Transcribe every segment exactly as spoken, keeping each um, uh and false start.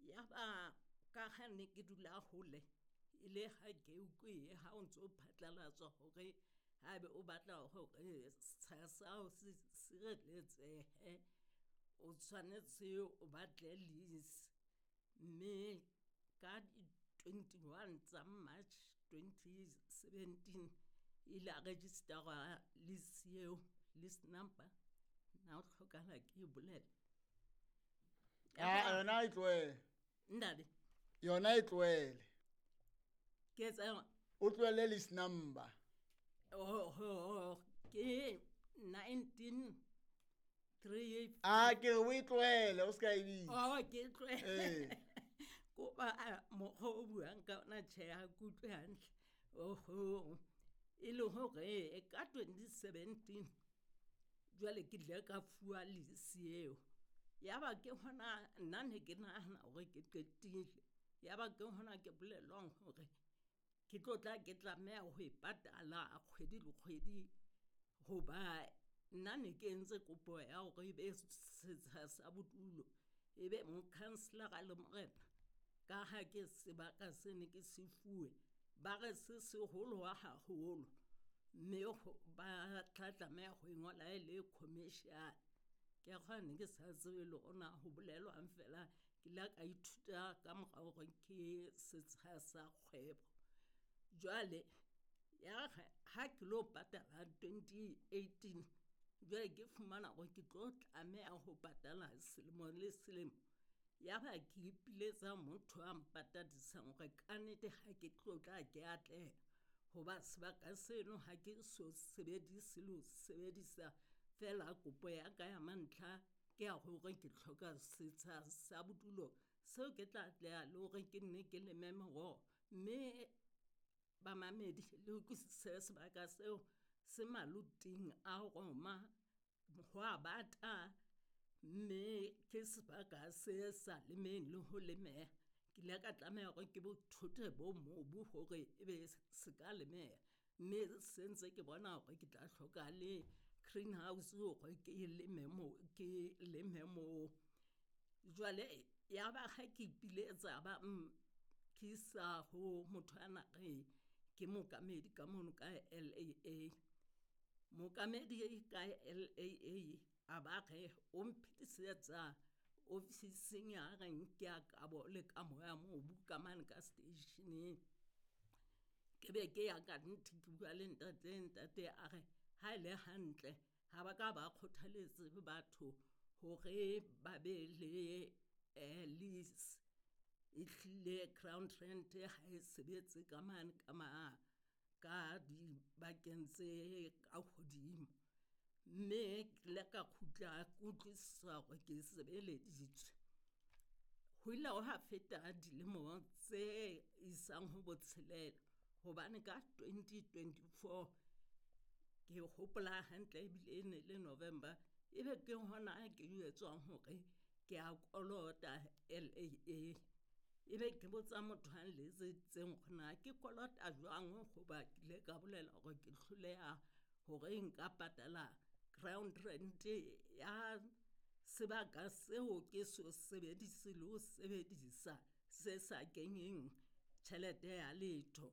Yaba ka ha ne ke dula hole, e le ha ke utlwe ha o ntso phatlalatswa hore haebe o batla hore setsha sa hao se sireletsehe, o tshwanetse o batle lease. Mme ka di twenty-one tsa March twenty seventeen, ile ya register-wa lease eo, lease number na ho hlokahala ke e bolele? Ah, yona e tlohele. Ntate. Yona e tlohele. Ke etsa O tlohelle lease number. Oh, oh, ke nineteen three. Ah, ke re o e tlohele, o ska e bitsa. Oh, ke tlohele. Eh. Kopa mokgwa o buang ka ona, tjhe, ha ke utlwe hantle. Oho, e le hore ka twenty seventeen jwale ke ile ka fuwa lease eo. Yaba ke hona nna ne ke nahana hore ke qetile. Yaba ke hona ke bolellwang hore ke tlo tla ke tlameha ho e patala kgwedi le kgwedi, hoba nna ne ke entse kopo ya hore ebe setsha sa bodulo, ebe mokhanselara le morena, ka ha ke sebaka se ne ke se fuwe, ba re se seholo haholo, mme ba tla tlameha ho e ngola e le commercial. Ke a kgolwa ne ke sa tsebe le hore na ho bolelwang fela, ke ile ka ithuta ka mora hore ke setsha sa kgwebo. Jwale ya re ha ke lo patala twenty eighteen, jwale ke fumana hore ke tlo tlameha ho patala selemo le selemo. Yaba ke ipiletsa motho a mpatadisang hore kannete ha ke tlo tla ke atleha, hoba sebaka seno ha ke so sebedise le ho sebedisa fela. Kopo ya ka ya mantlha ke ya hore ke hloka setsha sa bodulo seo ke tla atleha le hore ke nne ke leme meroho. Mme bamamedi, le utlwisise, sebaka seo se maloting a Roma, ho a bata, mme ke sebaka se sa lemeng le ho lemeha. Ke ile ka tlameha hore ke bothote bo mobu hore ebe se ka lemeha, mme se ntse ke bona hore ke tla hloka le greenhouse hore ke leme moo, ke leme moo. Jwale yaba ha ke ipiletsa, ba nkisa ho motho ana re ke mookamedi ka mono ka L A A. Mookamedi ka L A A a ba re o mphetisetsa ofising ya reng ke ya kabo le kamo ya mobu ka mane ka seteisheneng. Ke be ke ya ka nnete, ke bua le ntate, ntate a re ha e le hantle ha ba ka ba kgothaletse batho hore ba be le lease. Ehlile ground rent ha e sebetse ka mane ka ma ka dibakeng tse ka hodimo. Mme ke ile ka kgutla ke utlwisisa hore ke sebeleditswe. Ho ile hwa feta dilemo tse isang ho botshelela, hobane ka twenty twenty-four, ke hopola hantle ebile e ne le November, ebe ke hona ke jwetswang hore ke a kolota L A A. Ebe ke botsa motho a nletseditseng hore na ke kolota jwang, hoba ke ile ka bolela hore ke hloleha hore nka patala ground rent ya sebaka seo ke so sebedise le ho sebedisa, se sa kenyeng tjhelete ya letho.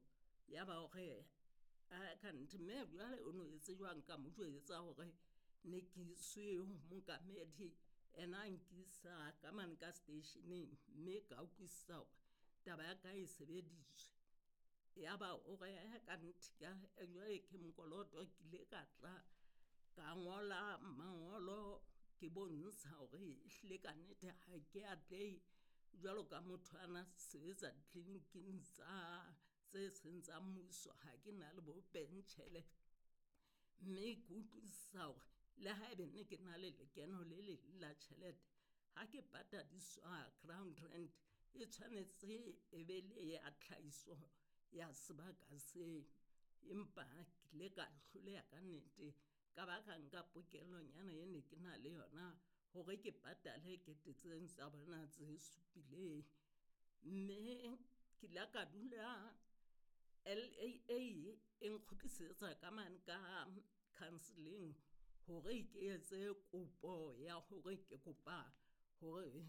Yaba hore kannete mme jwale o no etse jwang, ka mo jwetsa hore ne ke iswe ho mookamedi, ena a nkisa ka mane ka seteisheneng, mme ka utlwisisa hore taba ya ka e sebeditswe. Yaba o re kannete jwale ke mokoloto. Ke ile ka tla ka ngola mangolo ke bontsha hore ehlile kannete ha ke atlehe jwalo ka motho a na sebetsa ditleliniking tsa tse seng tsa mmuso, ha ke na le bo pentjhele, mme ke utlwisisa hore le haebe ne ke na le lekeno le leng la tjhelete, ha ke patadiswa ground rent e tshwanetse e be le ya tlhahiso ya sebaka seo. Empa ke ile ka hloleha ka nnete, ka ba ka nka pokellonyana e ne ke na le yona hore ke patale kete tseno tsa bona tse supileng. Mme ke ile ka dula L A A e nkgutlisetsa ka mane ka counselling hore ke etse kopo ya hore ke kopa hore